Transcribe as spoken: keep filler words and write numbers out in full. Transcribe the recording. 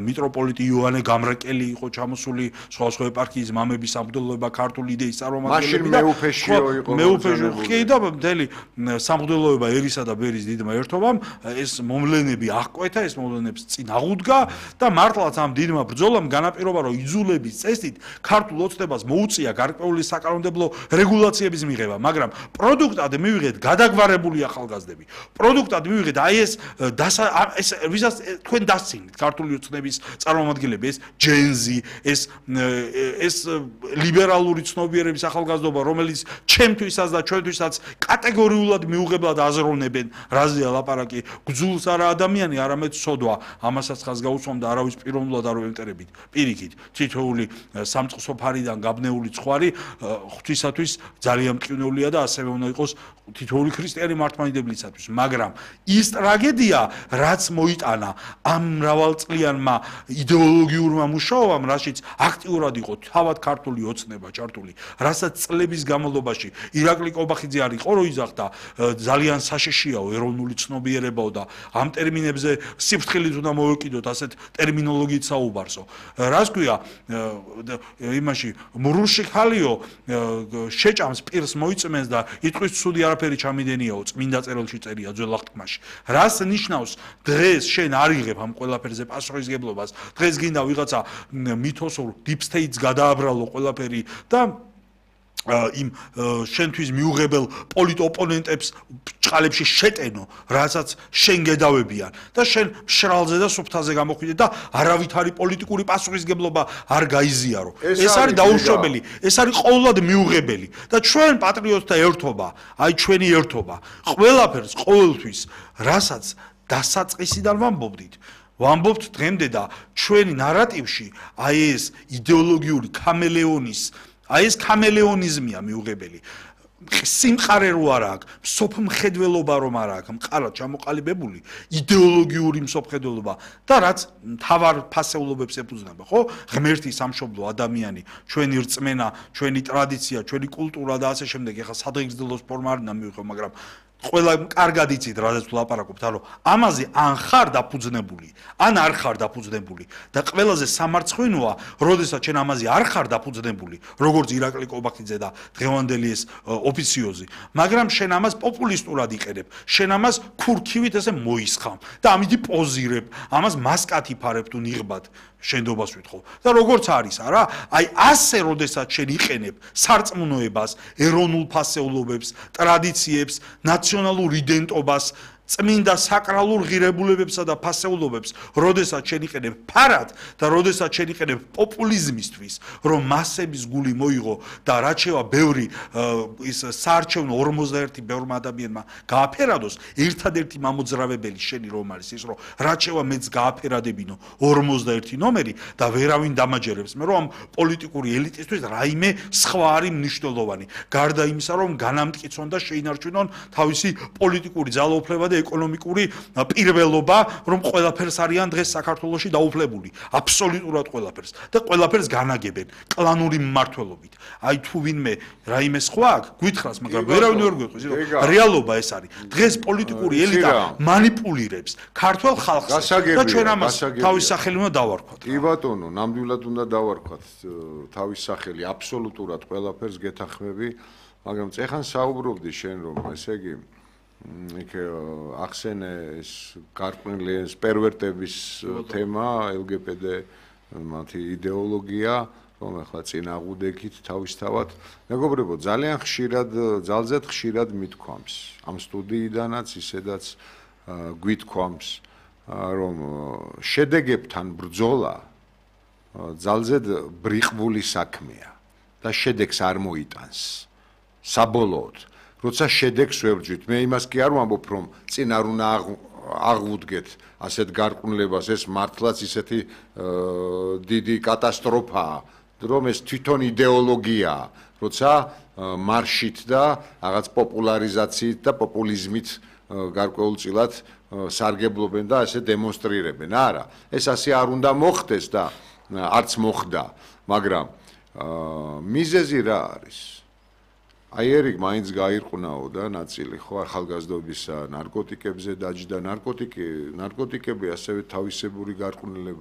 მიტროპოლიტი იოანე გამრეკელი იყო ჩამოსული სხვა სხვა ეპარქიის მამების სამღვდელოება ქართული იდეის მაშინ წარმომადგენლები მეუფეშიო იყო მეუფეშიო კი და მთელი სამღვდელოება ერისა და ბერის დიდმა ერთობამ ეს მომლენები აღკვეთა ეს მომლენებს წინ აღუდგა და მართლაც ამ დიდმა ბრძოლამ განაპირობა რომ იძულების წესით ქართულ ოცნებას მოუწია გარკვეული საკანონმდებლო რეგულაციების მიღება მაგრამ პროდუქტად მივიღეთ გადაგვარებული ახალგაზრდები პროდუქტად მივიღეთ აი ეს ეს ვისაც თქვენ დასცინეთ ქართული ოცნების წარმომადგენლები ეს ჯენზი ეს ეს ლიბერალური ცნობიერების ახალგაზრდობა რომელიც ჩემთვისაც და ჩვენთვისაც კატეგორიულად მიუღებლად აზროვნებენ რაზეა ლაპარაკი გძულს არა ადამიანი არამედ სოდვა ამასაც ხაზ გაუსვამდა არავის პიროვნულად არ ვემტერებით პირიქით თითოეული სამწყსო ფარიდან გაბნეული ცხვარი ღვთისათვის ძალიან მტკივნეულია და ასევე უნდა იყოს თითოეული ქრისტიანი მართლმადიდებლისათვის მაგრამ ის ტრაგედია რაც მოიტანა ამ მრავალწლიანმა იდეოლოგიურმა მუშაობამ რაშიც აქტიურად იყო თავად ქართული ოცნება ჩართული რასაც წლების განმავლობაში ირაკლი კობახიძე არ იყო რო იზახდა ძალიან საშიშიაო ეროვნული ცნობიერებაო და ამ ტერმინებზე სიფრთხილით უნდა მოვეკიდოთ ასეთ ტერმინოლოგიით საუბარსო რას ქვია იმაში მურუში ხალიო შეჭამს პირს მოიწმენს და იტყვის ცუდი არაფერი ჩამიდენიაო წმინდა წერილში წერია ძველ აღთქმაში რას ნიშნავს დღეს შენ არ იღებ ამ ყველაფერზე პასუხისგებლობას დღეს გინდა ვიღაცა მითოსურ deep state-ს გადააბრალო ყველაფერი და იმ შენთვის მიუღებელ პოლიტოპონენტებს ჭყალებში შეტენო რასაც შენ გედავებიან და შენ მშრალზე და სუფთაზე გამოხვიდე და არავითარი პოლიტიკური პასუხისგებლობა არ გაიზიარო ეს არის დაუშვებელი ეს არის ყოველად მიუღებელი და ჩვენ პატრიოტთა ერთობა აი ჩვენი ერთობა ყველაფერს ყოველთვის რასაც დასაწყისიდან ვამბობდით ვამბობთ დღემდე და ჩვენი ნარატივში აი ეს იდეოლოგიური ქამელეონის აი ეს ქამელეონიზმია მიუღებელი სიმყარე რო არ აქვს მსოფლმხედველობა რომ არ აქვს მყარად ჩამოყალიბებული იდეოლოგიური მსოფლმხედველობა და რაც თავარ ფასეულობებს ეფუძნება ხო ღმერთი სამშობლო ადამიანი ჩვენი რწმენა ჩვენი ტრადიცია ჩვენი კულტურა და ასე შემდეგ ეხლა სადღეგრძელოს ფორმა არ უნდა მივიღო მაგრამ ყველა კარგად იცით რაზეც ვლაპარაკობთ რომ ამაზე ან ხარ დაფუძნებული ან არ ხარ დაფუძნებული და ყველაზე სამარცხვინოა როდესაც შენ ამაზე არ ხარ დაფუძნებული როგორც ირაკლი კობახიძე და დღევანდელი ეს ოფიციოზი მაგრამ შენ ამას პოპულისტურად იყენებ შენ ამას ქურქივით ესე მოისხამ და ამით პოზირებ ამას მასკათი ფარებ თუ ნიღბად შენდობას ვითხოვ და როგორც არის არა აი ასე როდესაც შენ იყენებ სარწმუნოებას ეროვნულ ფასეულობებს ტრადიციებს ნაციონალურ იდენტობას წმინდა საკრალურ ღირებულებებსა და ფასეულობებს როდესაც შენ იყენებ ფარად და როდესაც შენ იყენებ პოპულიზმისთვის რომ მასების გული მოიღო და რაც შევა ბევრი ის საარჩევნო ორმოცდაერთი ბევრმა ადამიანმა გააფერადოს ერთადერთი მამოძრავებელი შენი რომ არის ის რომ რაც შევა მეც გააფერადებინო ორმოცდაერთი ნომერი და ვერავინ დამაჯერებს მე რომ ამ პოლიტიკური ელიტისთვის რაიმე სხვა არის მნიშვნელოვანი გარდა იმისა რომ განამტკიცონ და შეინარჩუნონ თავისი პოლიტიკური ძალაუფლება და ეკონომიკური პირველობა რომ ყველაფერს არიან დღეს საქართველოში დაუფლებული აბსოლუტურად ყველაფერს და ყველაფერს განაგებენ კლანური მმართველობით აი თუ ვინმე რაიმე სხვა აქვს გვითხრას მაგრამ ვერავინ ვერ გვეყვის რომ რეალობა ეს არის დღეს პოლიტიკური ელიტა მანიპულირებს ქართულ ხალხს და ჩვენ ამას თავის სახელი უნდა დავარქვათ კი ბატონო ნამდვილად უნდა დავარქვათ თავის სახელი აბსოლუტურად ყველაფერს გეთანხმები მაგრამ წეხან საუბრობდი შენ რომ ესე იგი იქ ახსენე ეს გარკვეული ეს პერვერტების თემა ელ გი ბი დე მათი იდეოლოგია რომ ახლა წინააღმდეგით თავისთავად მეგობრებო ძალიან ხშირად ძალზედ ხშირად მithქვამს ამ სტუდიიდანაც ისედაც გვითქვამს რომ შედეგებთან ბრძოლა ძალზედ ბრიყვული საქმეა და შედეგს არ მოიტანს საბოლოოდ როცა შედეგს ვებრძვით მე იმას კი არ ვამბობ რომ წინ არ უნდა აღვუდგეთ ასეთ გარყვნილებას ეს მართლაც ისეთი დიდი კატასტროფაა რომ ეს თვითონ იდეოლოგიაა როცა მარშით და რაღაც პოპულარიზაციით და პოპულიზმით გარკვეულწილად სარგებლობენ და ასე დემონსტრირებენ არა ეს ასე არ უნდა მოხდეს და არც მოხდა მაგრამ მიზეზი რა არის აი ერიკ მაინც გაირყვნაო და ნაწილი ხო ახალგაზრდობის ნარკოტიკებზე დაჯდა ნარკოტიკი ნარკოტიკები ასევე თავისებური გარყვნილება